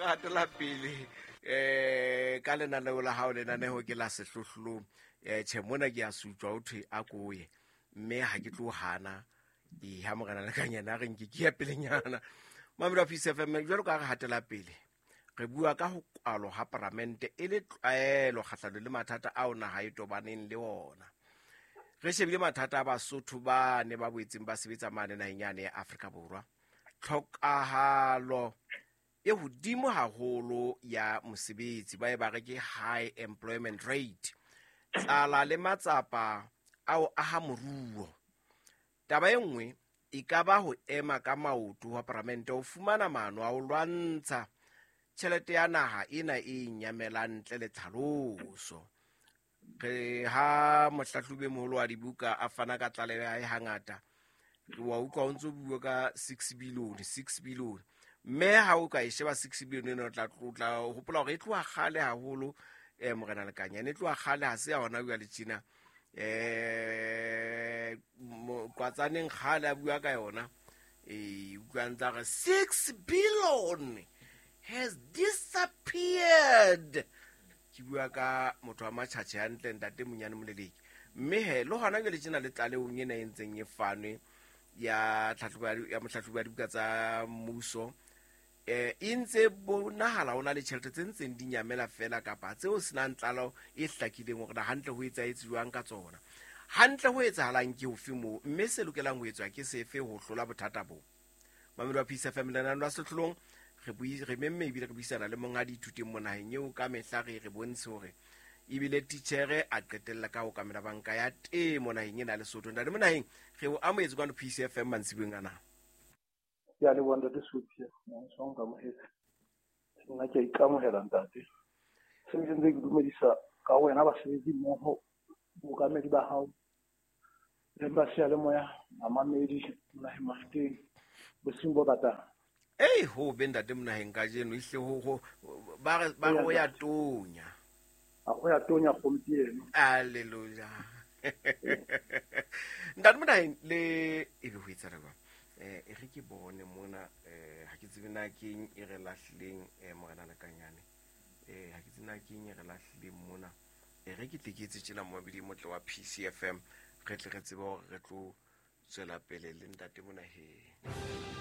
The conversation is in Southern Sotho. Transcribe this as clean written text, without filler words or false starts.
gatela pele um ka lenaneo la gago, lenaneo ke la Sehlohlolong. Tšhe, mona ke a sutswa o thwe a koye, mme ga ke tlo gana. Ee, ha Morena Lekanyane a re nke ke ya pelenyana. Mamelo wa Peace FM, jalo ka re gatela pele, re bua ka go kwalo ga paramente e le tlwaelo kgatlhanong le mathata ao naga e tobaneng le ona. Re shebile mathata a Basotho ba ne ba boetseng ba sebetsa mane naheng yane ya Afrika Borwa, tlhokahalo e hodimo haholo ya mosebetsi, ba e ba re ke high employment rate, tlala le matsapa ao aha moruo. Taba e nngwe e ka ba ho ema ka maoto wa paramente ho fumana maano a ho lwantsha tjhelete ya naha ena e nyamelang ntle le tlhaloso. Re ha mohlahlobi moholo wa dibuka a fana ka tlaleho ya hae, hangata re wa utlwa o ntso bua ka 6 billion, 6 billion, mme ha o ka e sheba 6 billion ena, o tla hopola hore e tloha kgale haholo. Morena Lekanyane, e tloha kgale, ha se ya hona jwale tjena. Kwatsaneng kgale a bua ka yona, e utlwa ntse a re 6 billion has disappeared. Ke bua ka motho wa Matjhatjhe hantle, ntate Monyane Moleleki. Mme he le hona jwale tjena le tlalehong ena e ntseng e fanwe ya tlhahlobo ya mohlahlobi wa dibuka tsa mmuso, e ntse bonahala ho na le tjhelete tse ntseng di nyamela fela, kapa tseo senang tlalo e hlakileng hore na hantle ho etsahetse jwang ka tsona, hantle ho etsahalang ke hofe moo, mme se lokelang ho etswa ke sefe ho hlola bothata bo. Mamelo wa Peace FM, lenane la Sehlolong, re bui re memme ebile re buisana le monghadi ithuteng mo naheng eo ka mehla re bontshe hore ebile titjhere a qetella ka ho kamela banka ya temo naheng ena ya Lesotho. Ntate Monaheng, re o amohetse kwano Peace FM mantsibueng ana. Ke a leboha, ntate Sophia, so nkamohetse. Nna ke a ikamohela, ntate. Se ke ntse ke dumedisa ka wena basebetsi mmoho, bookamedi ba hao le ba seyalemoya, bamamedi Monaheng Mafuteng, bosiung bo batang. Ei, ho be ntate Monaheng, kajeno ehle ho ba re ho ya tonya. A go ya tonya gompieno. Alleluja. Ntate Monaheng, le ebe ho etsahala jwang? E re ke bone mona, ha ke tsebe na keng e re lahlileng, Morena Lekanyane. Ha ke tsebe na keng e re lahlileng mona. E re ke tle ke etse tjena, momamedi motle wa PCFM, re tle re tsebe hore re tlo tswela pele le ntate Monaheng.